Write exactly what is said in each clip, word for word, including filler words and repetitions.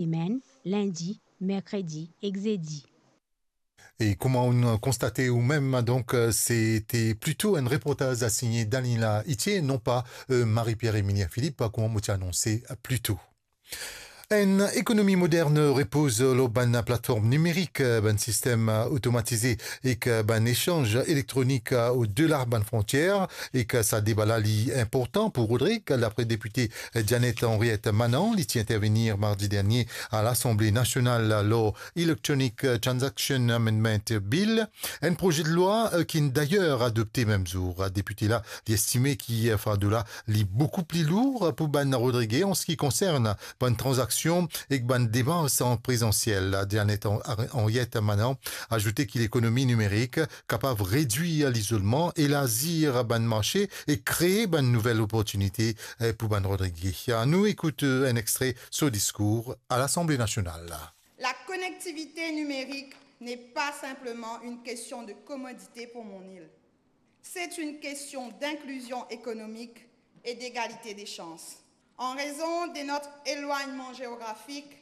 semenn, lindi, merkredi ek zedi. E kouma ou'nn konstate oumem, donk, euh, se te plito enn reportaz asigne Daniela Itier, non pa, euh, Marie-Pierre Emilien Philippe, kouma mo ti anonse plito. Enn ekonomi modern repoz lor bann platform nimerik, bann sistem otomatize ek bann esanz elektronik odela bann frontier, ek sa deba la li inportan pou Rodrig, dapre depite Janet Henriette Manant, li ti intervenir mardi dernie a Lasanble Nasional lor Electronic Transaction Amendment Bill, enn proze de lwa, eh, ki'nn dayer adopte mem zour. Depite la, li estime ki, eh, fardo la li boukou pli lour pou bann Rodrige an se ki konsern bann tranzaksion ek bann demars an prezansiel. Janet Hen-, Henriette Manant azoute ki lekonomi nimerik kapav redwir lizolman, elazir bann marse e kree bann nouvel oportinite, eh, pou bann Rodrige. Nou ekout, eh, enn extre so diskour a Lasanble Nasional. La connectivité numérique n'est pas simplement une question de commodité pour mon île. C'est une question d'inclusion économique et d'égalité des chances. En raison de notre éloignement géographique,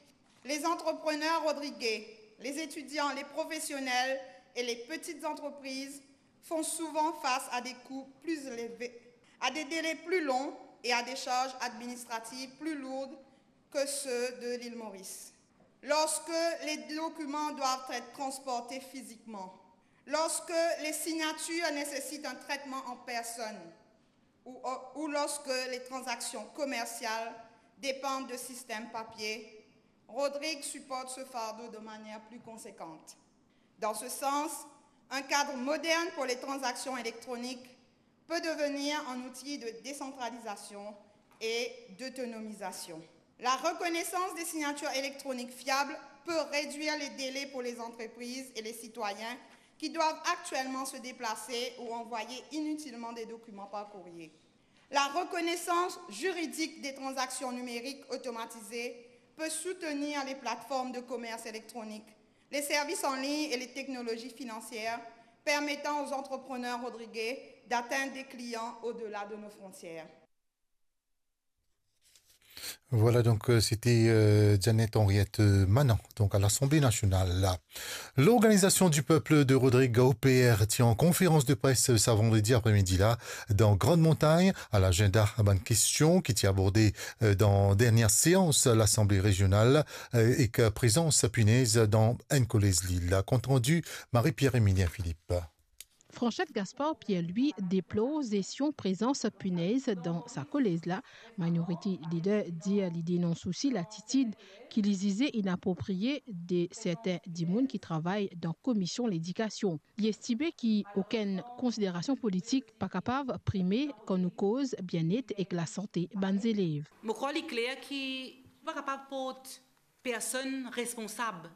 les entrepreneurs rodriguais, les étudiants, les professionnels et les petites entreprises font souvent face à des coûts plus élevés, à des délais plus longs et à des charges administratives plus lourdes que ceux de l'île Maurice. Lorsque les documents doivent être transportés physiquement, lorsque les signatures nécessitent un traitement en personne, ou, ou lorsque les transactions commerciales dépendent de systèmes papier, Rodrigue supporte ce fardeau de manière plus conséquente. Dans ce sens, un cadre moderne pour les transactions électroniques peut devenir un outil de décentralisation et d'autonomisation. La reconnaissance des signatures électroniques fiables peut réduire les délais pour les entreprises et les citoyens qui doivent actuellement se déplacer ou envoyer inutilement des documents par courrier. La reconnaissance juridique des transactions numériques automatisées peut soutenir les plateformes de commerce électronique, les services en ligne et les technologies financières permettant aux entrepreneurs rodriguais d'atteindre des clients au-delà de nos frontières. Voilà, donk, euh, se te, euh, Janet Henriette, euh, Manant, donk a Lasanble Nasional la. L'Organisation du Peuple de Rodrigues, O P R, ti an konferans de pres, euh, sa vandredi apremidi la, dan Grande Montagne, a lagenda bann kestion ki ti aborde, euh, dan dernie seans Lasanble Rezional, euh, ek prezans pinez dan enn kolez lil. Kont randi, Marie-Pierre Emilien Philippe. Franchette Gaspard Pierre-Louis deplor zestion prezans pinez dan sa kolez la. Minority Leader dir li denons osi latitid ki li zize inaproprie de sertin dimoun ki travay dan Komision Ledikasion. Li estime ki okenn konsiderasion politik pa kapav prime kan nou koz bienet ek lasante bann zelev. Mo krwar li kler ki nou pa kapav port personn responsab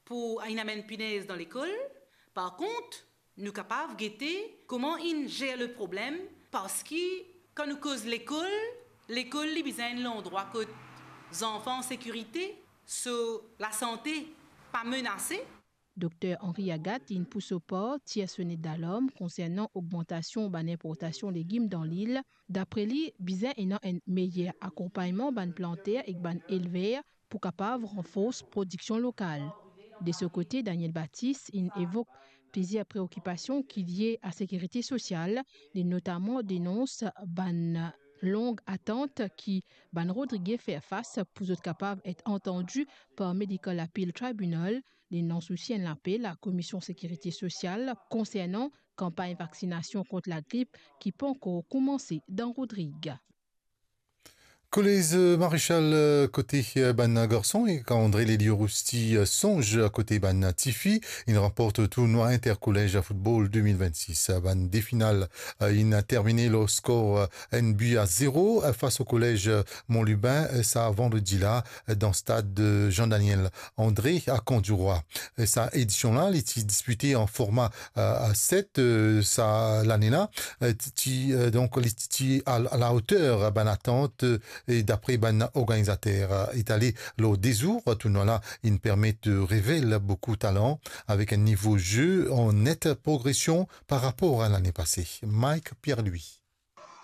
pou inn amenn pinez dan lekol. Par kont, nou kapav gete kouma inn zer le problem, parski kan nou koz lekol, lekol li bizin enn landrwa kot zanfan an sekirite, so lasante pa menase. Dokter Henri Agathe inn pou so par tir sonet dalarm konsernan ogmantasion bann inportasion legim dan lil. Dapre li, bizin ena enn meyer akonpagnman bann planter ek bann elver pou kapav ranfors prodiksion lokal. De so kote, Daniel Baptiste inn evok plizier preokipasion ki lie a sekirite sosial, li notaman denons bann long atant ki bann Rodrige fer fas pou zot kapav et antandi par Medical Appeal Tribunal. Li lans osi enn lapel a Komision Sekirite Sosial konsernan kanpagn vaksinasion kont lagrip ki pankor koumanse dan Rodrig. Kolez, euh, Marechal, euh, kote, euh, bann garson ek André Lelio Rousti, euh, Sonz kote bann tifi, inn ranport tournwa interkolez football de mil vennsis. Bann de final, euh, inn termine lor skor, euh, enn bi a zero, euh, fas o kolez, euh, Mont Lubin, euh, sa vandredi la, euh, dan stad, euh, Jean-Daniel André a Camp du Roi. Euh, sa edision la, li ti dispite an forma, euh, a set, euh, sa lane la, euh, ti, ti, euh, donk, li ti, ti a, a la oter bann atant, euh, e dapre bann organizater. Euh, etale lor de zour, tournwa la inn permet, euh, revel boukou talan avek enn nivo ze an net progresion par rapor a lane pase. Mike Pierre-Louis.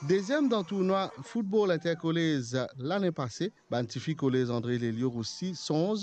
Deziem dan tournwa football interkolez lane pase, bann tifi kolez André Lelio Rousti Sonz